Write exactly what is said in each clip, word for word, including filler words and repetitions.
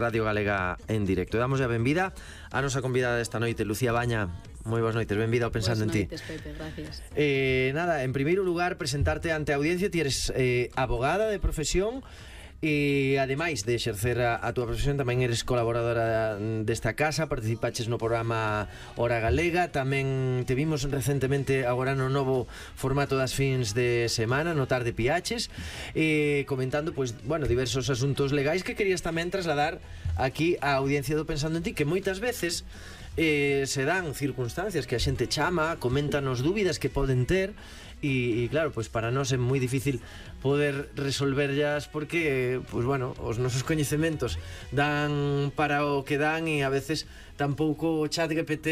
Radio Galega en directo. Damos a benvida a nosa convidada desta noite, Lucía Baña. Moi boas noites, benvida ao Pensando en Ti. Boas noites, Pepe, gracias. Eh, nada, en primeiro lugar, presentarte ante a audiencia. Ti eres eh, abogada de profesión e, ademais de exercer a, a túa profesión, tamén eres colaboradora desta casa, participaches no programa Hora Galega, tamén te vimos recentemente agora no novo formato das fins de semana, no Tarde Piaches, eh, comentando, pois, bueno, diversos asuntos legais que querías tamén trasladar aquí á audiencia do Pensando en Ti, que moitas veces eh, se dan circunstancias que a xente chama, coméntanos dúbidas que poden ter. E, e claro, pois para nós é moi difícil poder resolverlas porque, pois bueno, os nosos coñecementos dan para o que dan e a veces tampouco o chat G P T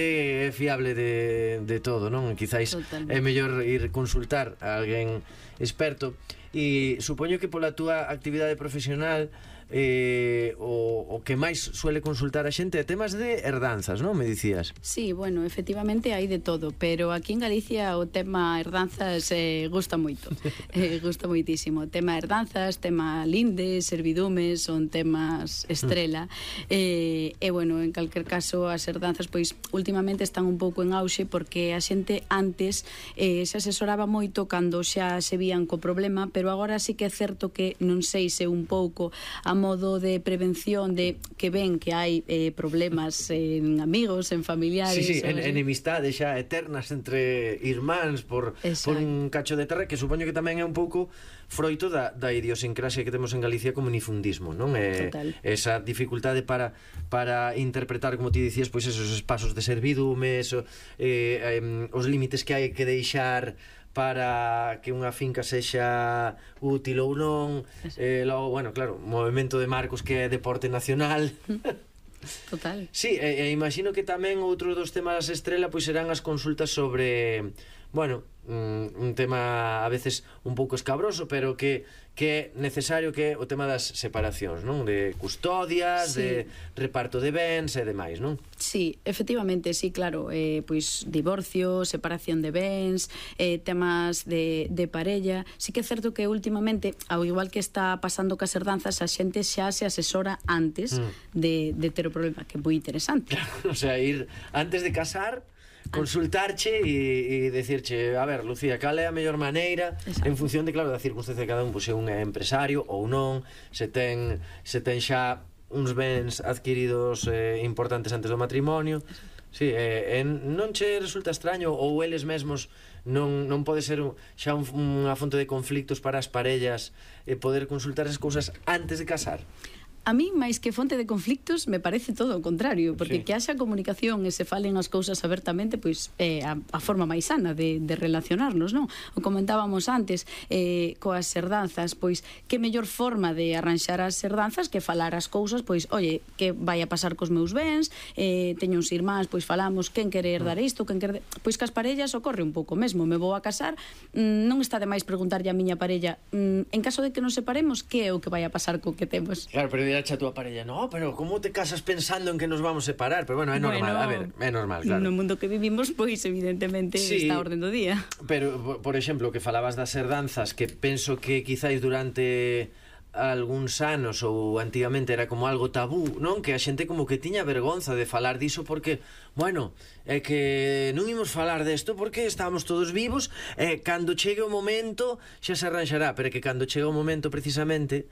é fiable de, de todo, non? Quizáis Totalmente. É mellor ir consultar a alguén experto. E supoño que pola túa actividade profesional eh, o, o que máis suele consultar a xente é temas de herdanzas, non? Me dicías. Sí, bueno, efectivamente hai de todo, pero aquí en Galicia o tema herdanzas eh, gusta moito, eh, gusta moitísimo. O tema herdanzas, tema lindes, servidumes, son temas estrela. E, eh, eh, bueno, en calquer caso, as herdanzas, pois, últimamente están un pouco en auxe porque a xente antes eh, se asesoraba moito cando xa se vían co problema, pero agora sí que é certo que non sei se un pouco a modo de prevención de que ven que hai eh, problemas en amigos, en familiares. Sí, sí, en, enemistades xa eternas entre irmáns por, por un cacho de terra, que supoño que tamén é un pouco froito da, da idiosincrasia que temos en Galicia como unifundismo, non? É, esa dificultade para, para interpretar, como ti dicías, pois esos espasos de servidume, eso, eh, eh, os límites que hai que deixar para que unha finca sexa útil ou non. Eh, logo, bueno, claro, movimento de marcos que é deporte nacional. Total. Sí, e, e imagino que tamén outro dos temas estrela pois serán as consultas sobre, bueno, un, un tema a veces un pouco escabroso, pero que, que é necesario, que é o tema das separacións, non? De custodias, sí. De reparto de bens e demais, non? Sí, efectivamente, sí, claro, eh, pois divorcio, separación de bens, eh, temas de, de parella. Sí que é certo que últimamente, ao igual que está pasando cas herdanzas, a xente xa se asesora antes mm. de, de ter o problema, que é moi interesante. Claro, o sea, ir antes de casar, consultarche e, e decirche, a ver, Lucía, cal é a mellor maneira. Exacto. En función de, claro, da circunstancia de cada un, pois se un é empresario ou non, se ten, se ten xa uns bens adquiridos eh, importantes antes do matrimonio. Sí, eh, en, non che resulta extraño, ou eles mesmos non, non pode ser un, xa un, unha fonte de conflictos para as parellas eh, poder consultar as cousas antes de casar? A mí, máis que fonte de conflictos, me parece todo o contrario, porque sí. Que haxa comunicación e se falen as cousas abertamente, pois é a, a forma máis sana de, de relacionarnos, non? O comentábamos antes, eh, coas herdanzas, pois que mellor forma de arranxar as herdanzas que falar as cousas, pois, oye, que vai a pasar cos meus bens, eh, teño uns irmáns, pois falamos quen quere herdar isto, quen quere... Pois que as parellas ocorre un pouco mesmo, me vou a casar, mmm, non está de máis preguntarlle a miña parella, mmm, en caso de que nos separemos, que é o que vai a pasar co que temos? Claro, pero a túa parella, no, pero como te casas pensando en que nos vamos a separar? Pero bueno, é normal, bueno, a ver, é normal, claro. No mundo que vivimos, pois evidentemente sí, está a orden do día. Pero, por exemplo, que falabas das herdanzas, que penso que quizáis durante algúns anos ou antigamente era como algo tabú, non? Que a xente como que tiña vergonza de falar diso porque, bueno, é que non imos falar desto porque estábamos todos vivos e cando chegue o momento xa se arranxará, pero que cando chega o momento precisamente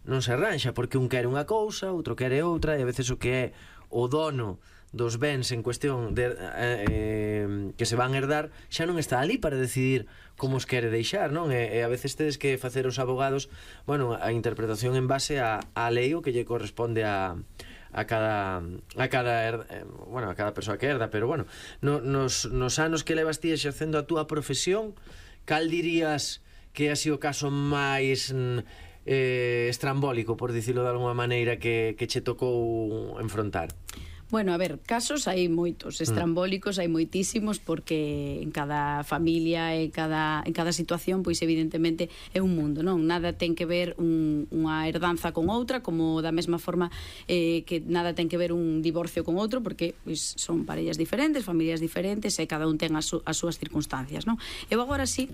non se arranxa, porque un quere unha cousa, outro quere outra, e a veces o que é o dono dos bens en cuestión de, eh, eh, que se van herdar xa non está ali para decidir como os quere deixar, non? E, e a veces tedes que facer os abogados, bueno, a interpretación en base a, a lei o que lle corresponde a a cada a cada herda, eh, bueno, a cada persoa que herda, pero bueno, no, nos, nos anos que levas ti exercendo a túa profesión, cal dirías que ha sido o caso máis eh, estrambólico, por dicilo de alguma maneira, que, que che tocou enfrontar? Bueno, a ver, casos hai moitos, estrambólicos hai moitísimos, porque en cada familia e cada, en cada situación, pois evidentemente é un mundo, non? Nada ten que ver un, unha herdanza con outra, como da mesma forma eh, que nada ten que ver un divorcio con outro, porque pois son parellas diferentes, familias diferentes, e cada un ten as, as súas circunstancias, non? Eu agora sí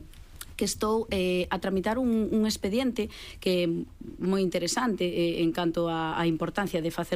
que estou eh, a tramitar un, un expediente que é moi interesante eh, en canto a, a importancia de facer